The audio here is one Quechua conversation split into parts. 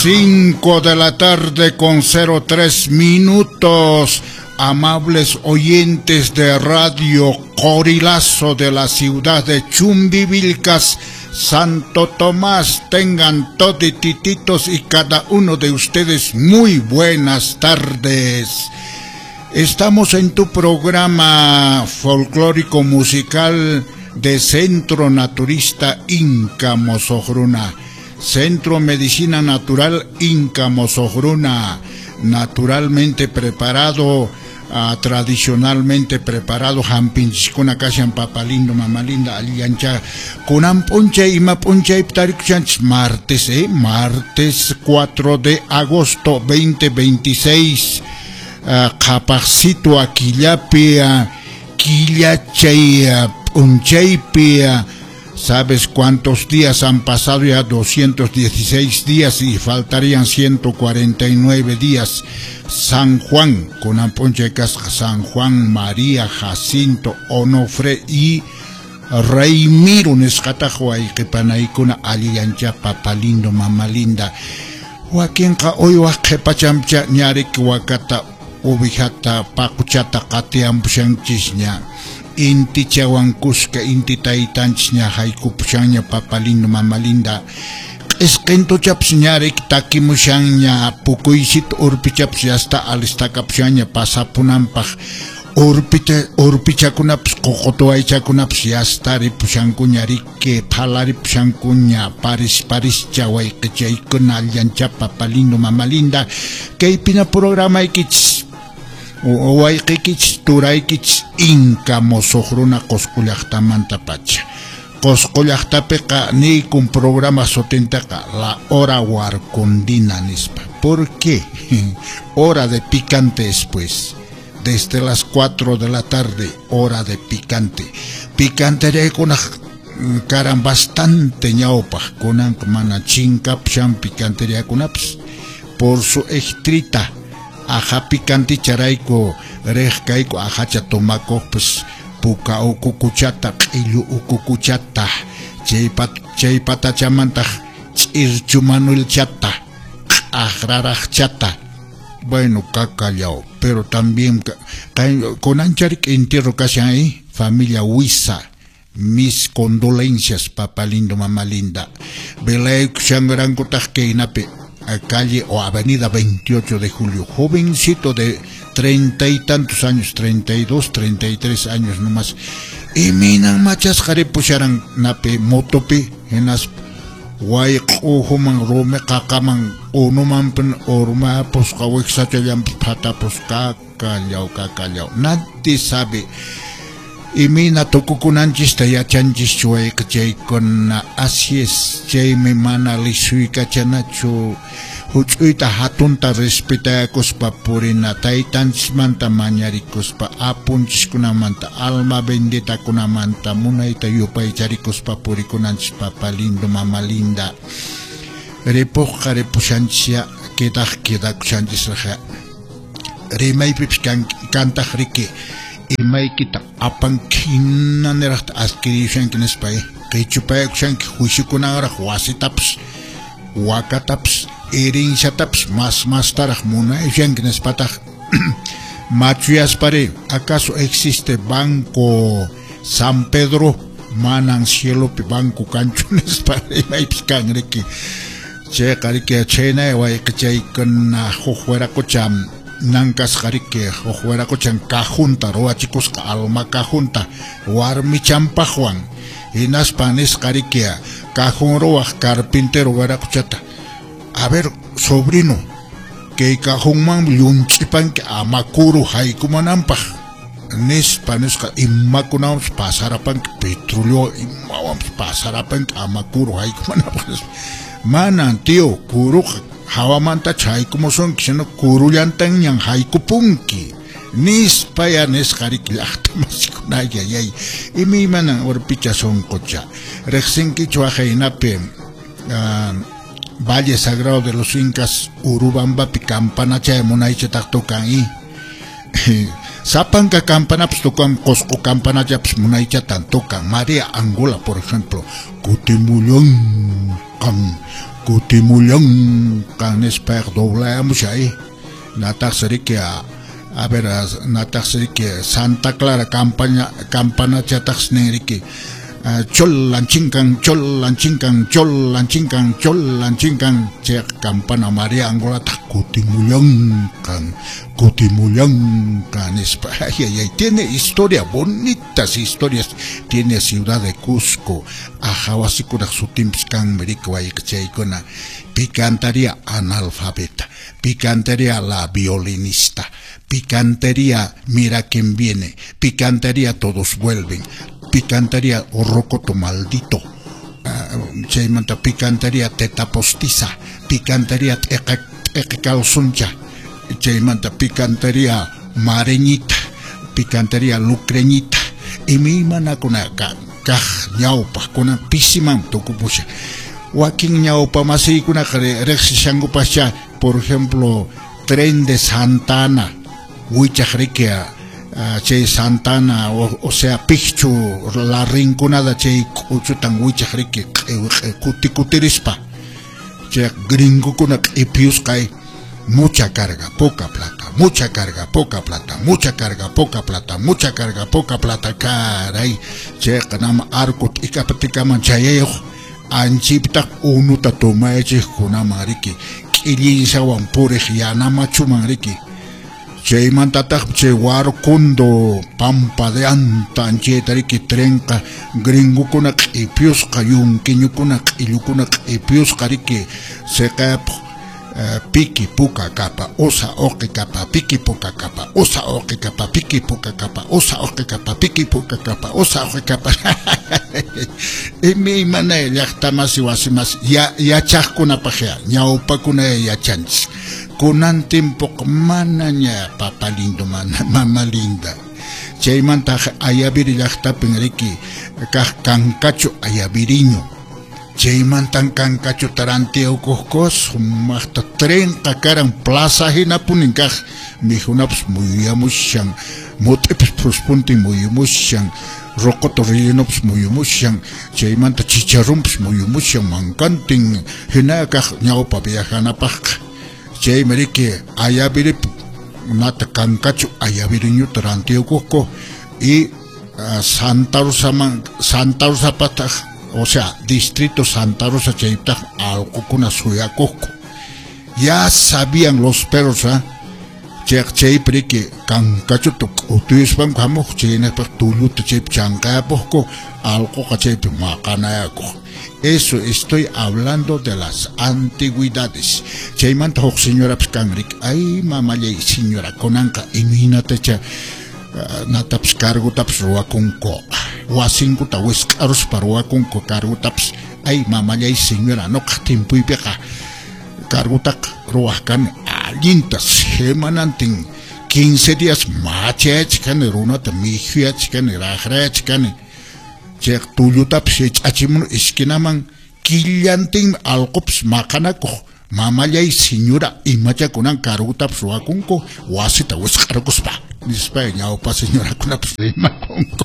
5 de la tarde con 03 minutos. Amables oyentes de Radio Corilazo de la ciudad de Chumbivilcas, Santo Tomás, tengan toditititos y cada uno de ustedes muy buenas tardes. Estamos en tu programa folclórico musical de Centro Naturista Inca Mosojruna, Centro Medicina Natural Inca Mosojruna, naturalmente preparado, tradicionalmente preparado, hampinchiskuna kashan papa lindo, mama linda, allancha, kunan p'unchay ima p'unchay tarikuchanchis martes, martes 4 de agosto 2026, qhapaqsitu killapi, killachay p'unchaypi. ¿Sabes cuántos días han pasado ya? 216 días y faltarían 149 días. San Juan, con Amponche Casca, San Juan, María, Jacinto, Onofre y Reimiro, nisqataqa wayqipanaykuna allillancha papa lindo, mama linda. Wakinqa uywaq qhipachamcha ñariki wakata, ovejata, paquchata qatiyampushanchisña. Intichawan kuska inti taytanchisña haykupushanña papa lindo, mama linda. Q'isqintuchapas ñariki takimushanña, pukuysita urpichapas yasta alistakapushanña pasapunanpaq. Urpichakunapas ququtuwaychakunapas yasta ripushankuña riki, phalaripushankuña, paris parischa wayqichaykuna allancha papa lindo, mama linda. Kaypina programaykichis wayqikichis turaykichis Inca Mosojruna Qosqo llaqtamanta pacha. Qosqo llaqtapiqa niykun programa sutintaqa La Hora Huarcondina nispa. ¿Por qué? Hora de picante después. Desde las 4 de la tarde, hora de picante. Picanteriakunaq karan bastante ñawpaq, kunanqa mana chinkapushan picanteriakunapas por su estrita. Aja picanticharayku riq kayku ajacha tomakuqpas puka ukukuchata, q'illu ukukuchata, chay patachamantaq ch'irchu manuelchata, q'aqraraqchata. Bueno, cacallao, pero también kunancharik entierro kashan ahí, familia Huiza. Mis condolencias, papá lindo, mamá linda. Velaykushanrankutaq kaynapi, calle o avenida 28 de julio, jovencito de 30 y tantos años, 32, 33 años nomás. Y minan machasqa ripusharan napi motopi, hinas wayq'uhuman rumi qaqaman unumanpin urmapusqa wiksachallanpis phatapusqa, kakallaw, kakallaw. Nadie sabe. Imina tukukunanchista yachanchischu wayqichaykuna. Así es, chaymi mana lisuykachanachu, huch'uyta hatunta respetakuspa purina, taytanchismanta mañarikuspa, apunchiskunamanta, alma benditakunamanta, munayta yupaycharikuspa purikunanchis papa lindo, mama linda. Ripuqqa ripushanchisya, quedaq quedakushanchisraqa. Rimaypipis kantaq riki, imaykita apanki hinaniraqta adquirishanki nispa, qichupayakushanki juiciukunanraq wasitapas, wakatapas, herenciatapas mas mastaraq munayushanki nispataq. Machuyaspari, ¿acaso existe Banco San Pedro? Manan cielopi banco kanchu nispa imaypis kan riki. Chayqa riki chhaynay wayqichaykuna huk wiraqucha nankasqa riki, huk wiraquchan cajunta ruwachikusqa, alma cajunta warmichanpaqwan. Hinaspa nisqa riki cajón ruwaq carpintero wiraquchata, a ver, sobrino, kay cajonman llunch'ipanki ama kuru haykumunanpaq nispa nisqa, imakunawanpas pasarapanki, petróleo imawanpas pasarapanki ama kuru haykumunanpaq nispa. Manan tío, kuruqa hawamantachu haykumusunki, sino kurullantañan haykupunki nispa ya nisqa riki llaqtamasikuna. Ayayay, imaymanan urpicha sunqucha. Riqsinkichu waqaynapi Valle Sagrado de los Incas, Urubambapi campanachay munaychataq tukan i. Sapanka campanapas tukan, Qosqo campanachapas munaychatan tukan. María Angola, por ejemplo, kutimullanqan. Kutimullanqa nispa doblayamushay nataqsi riki a ver nataqsi riki Santa Clara campaña campanachataqsi nin riki chollan chinkan chollan chinkan chollan chinkan chollan chinkan chay campana María Angolataq kutimullanqan kutimullanqa nispa. Ay, ay, ay, tiene historia, bonitas historias tiene ciudad de Cusco. Ajawasikunaq sutinpis kanmi riki wayqichaykuna. Picantería analfabeta, picantería la violinista, picantería mira quién viene, picantería todos vuelven, picantería rocoto maldito, chaymanta picantería teta postiza, picantería t'eqa calzoncha, chaymanta picantería mareñita, picantería lucreñita, imaymanakuna kaq ñawpaqkuna pisiman tukupusha. Wakin ñawpa masiykunaqa riqsishankupascha, por ejemplo, tren de Santa Ana, wichaq riki chay Santa Ana, o sea, Picchu, la rinconada chay k'uchutan wichaq riki kuti kutirispa. Chay gringokuna q'ipiyusqay mucha carga, poca plata, mucha carga, poca plata, mucha carga, poca plata, mucha carga, poca plata, caray. Chayqa nama arco t'ikapatikaman chayayuq anchiptaq unuta tomayachiqkunaman riki k'illinsawan puriq yanamachuman riki. Chaymantataq chay Warkundo Pampa de Anta anchayta riki trenqa gringokuna q'ipiyusqa yunquiñukuna q'illukuna q'ipiyusqa riki siqayapaq piki puka kapa usa uqi kapa piki puka kapa usa uqi kapa piki puka kapa usa uqi kapa piki puka kapa usa uqi kapa. Imaymana llaqtamasi wasimasi yachaqkunapaq ya ñawpakuna yachanchis. Kunan timpuqa manaña papa lindo mana mama linda. Chaymantaq Ayaviri llaqtapin riki kaq kankachu ayaviriño. Chaymantan kankachu tarantiyukuqku sumaqta trenqa karan plaza hinapunin kaq mikhunapas muyuyamushan mut'ipas phuspuntin muyumushan rocoto rellenopas muyumushan chaymanta chicharrunpas muyumushan mankantin hina kaq ñawpa viajanapaqqa. Chaymi riki Ayaviripi nata kankachu ayaviriñuta rantiyukuqku y Santa Rosaman Santa Rosapataq, o sea, distrito Santa Rosa chaypitaq allqukuna suyakuqku. Ya sabían los perros, ¿ah? Chaypi riki kankachuta k'utuyuspanku hamuq chaynapaq tulluta chaypi chanqayapuqku allquqa chaypi maqanayakuq. Eso estoy hablando de las antigüedades. Chaymanta huk señorapas kan riki, ay mamallay señora kunanqa imaynatacha natapas cargotapas ruwakunku wasinkuta wisq'aruspa ruwakunku cargotapas. Ay mamallay señora nuqaq timpuypiqa cargotaqa ruwaq kani allinta semanantin 15 días machayachikani runata mikhuyachikani raqrayachikani chay tullutapas hich'achimuni esquinaman killantinmi allqupas maqanakuq. Mamallay señora imacha kunan cargotapas ruwakunku wasita wisq'arkuspa nispa ñawpa señorakunapas rimakunku.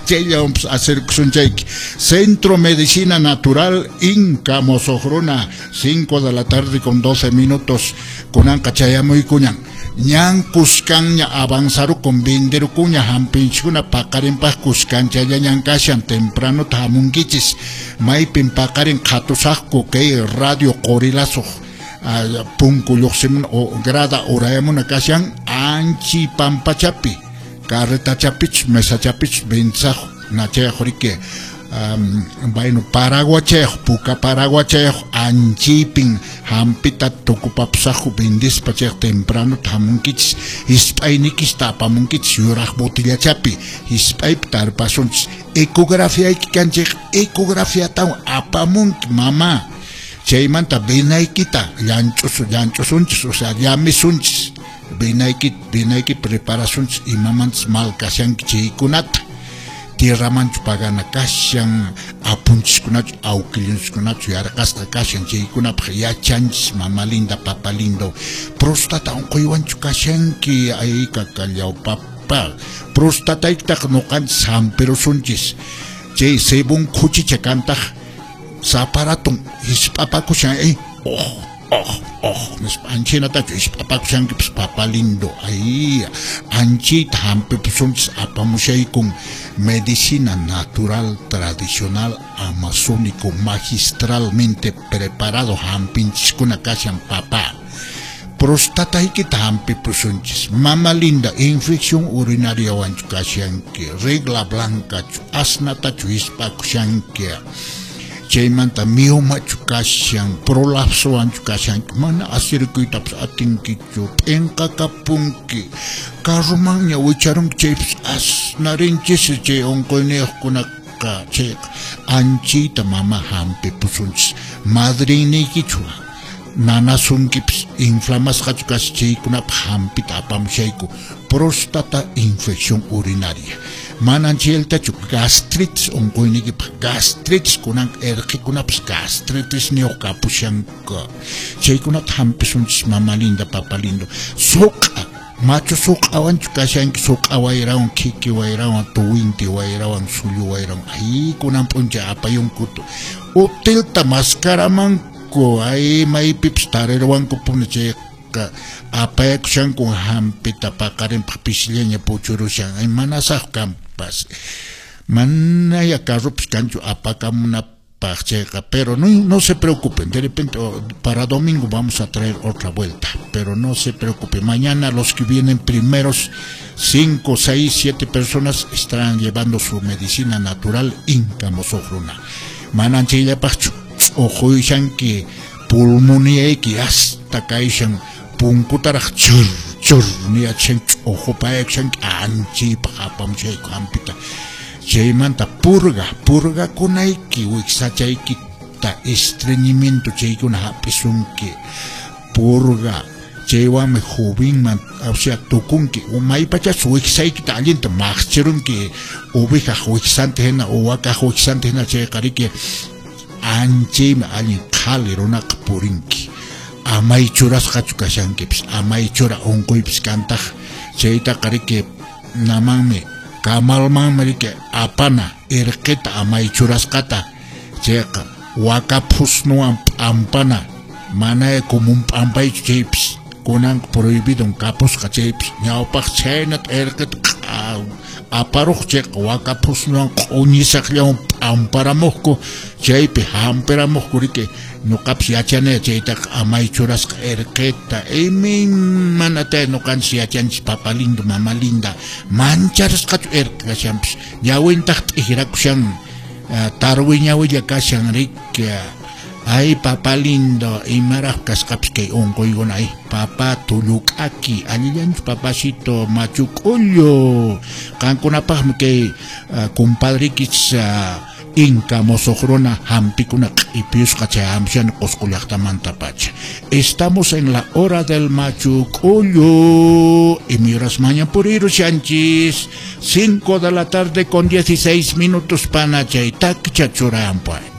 Chayllawanpas acerkusunchayki. Centro Medicina Natural Inca Mosoqruna, 5 de la tarde con 12 minutos. Kunanqa chayamuykuñan. Ñan kuskanña avanzarukun venderukuña hampinchikuna paqarinpaq kuskanchallañan kashan tempranota hamunkichis. Maypin paqarin qhatusaqku kay radio Qorilazuq punku lluqsimun o grada urayamuna kashan anchi pampachapi carretachapich mesachapich ventzaq nachayaq riki bueno paraguachayaq puka paraguachayaq anchipin hampita tukupapusaqku vendispa chayaq tempranota hamunkichis hisp'aynikichta apamunkichis yuraq botillachapi hisp'aypi tarpasunchis. Ecografiayki kanchik ecografiatawan apamunki mama. Chaymanta venaykita llanch'usunchis, o sea llamisunchis venayki preparasunchis imamantas mal kashanki chaykunata. Tierramanchu pagana kashan apunchiskunachu awkillunchiskunachu yarqasqa kashan chaykunapaq yachanchis mama linda papa lindo. Prostata unquywanchu kashanki ay kakallaw papa prostataykitaq nuqanchis hampirusunchis. Chay cebón khuchicha kantaq Saparatun hisp'apakushan oh oh oh nispa anchinatachu hisp'apakushankipis papa lindo ay anchita hampipusunchis apamushaykun medicina natural tradicional amazónico magistralmente preparado hampinchiskuna kashan papá. Prostataykita hampipusunchis mama linda infección urinaria wanchu kashanki regla blancachu asnatachu hisp'akushanki chaymanta miomachu kashan prolapsowanchu kashanki mana asirikuytapas atinkichu p'inqakapunki carromanña wicharunki chaypis asnarinchis chay unquyniyuqkunaqa chayqa anchita mama hampipusunchis madriniykichu nanasunkipis inflamasqachu kashan chaykunapaq hampita apamushayku próstata infección urinaria manan chayllatachu gastritis unquyniykipaq gastritis kunan irqikunapas gastritis niyuq kapushanku chaykunata hampisunchis mama linda papa lindo suq'a machu suq'awanchu kashanki suq'a wayrawan khiki wayrawan tuwinti wayrawan sullu wayrawan ay kunan p'unchay apayunkutu utilta maskaramanku ay maypipis tariruwankupuni chayqa apayakushanku hampita paqarinpaq pishillaña puchurushan ay manasaq kanpas manaya carropis kanchu apakamunapaq chayqa pero no se preocupen, de repente para domingo vamos a traer otra vuelta, pero no se preocupen, mañana los que vienen primeros 5, 6, 7 personas estarán llevando su medicina natural Inca Mosoqruna manan chayllapaqchu ch'uquyashanki pulmoniyayki hasta kayshan punkutaraq chur chur niyachishanki ch'uqupayashanki anchaypaq apamushayku hampita chaymanta purga purgakunayki wiksachaykita estreñimiento chaykuna hap'isunki purga chaywanmi jovenman o sea tukunki maypachachus wiksaykita allinta maqchirunki ovejaq wiksanta hina o wakaq wiksanta hina chayqa riki anchaymi allin qhali runaqa purinki amay churasqachu kashankipis amay chura unquypis kantaq chaytaqa riki namanmi kamalmanmi riki apana irqita amay churasqata chayqa waka phusnuwan p'ampana mana común p'ampaychu chaypis kunanqa prohibidon kapusqa chaypis ñawpaq chhaynata irqita aparuq chayqa waka phusnuwan q'uñisaqllawan p'amparamuqku chaypi hampiramuqku riki ñuqapis yachani chaytaqa amay churasqa irqita imaymanata ñuqanchis yachanchis papa lindo mama linda mancharisqachu irqi kashanpis ñawintaq t'ikrakushan tarwi ñawilla kashan riki ay papa lindo imaraq kasqapis kay unquykuna ay papa tulluk'aki allillanchu papacito machu k'ullu qankunapaqmi kay compadrikichis Inca Mosoqruna hampikuna q'ipiyusqa chay hampishani Qusqu llaqtamantapacha. Estamos en la hora del machu k'ullu imay purirushanchis 5 de la tarde con 16 minutos pana chay takcha churampa.